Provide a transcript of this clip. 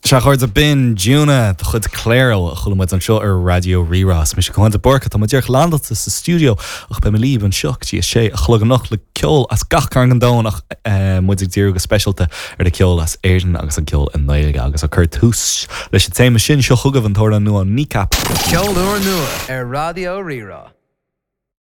Sea, a chairde, b'in Dúna de chuid Cléro a chuala muid anseo ar Raidió Rí-Rá. Is mise Caoin de Búrca, tá mé díreach landáilte sa stiúideo ach beidh mé libh anseo go dtí a sé a chlog anocht le ceol as gach cearn den domhan ach muid ag díriú go speisialta ar an ceol as Éirinn agus an ceol i nGaeilge agus ag cur tús leis an téama sin, seo chugaibh an t-amhrán nua Kneecap. Ceol úr nua ar Raidió Rí-Rá.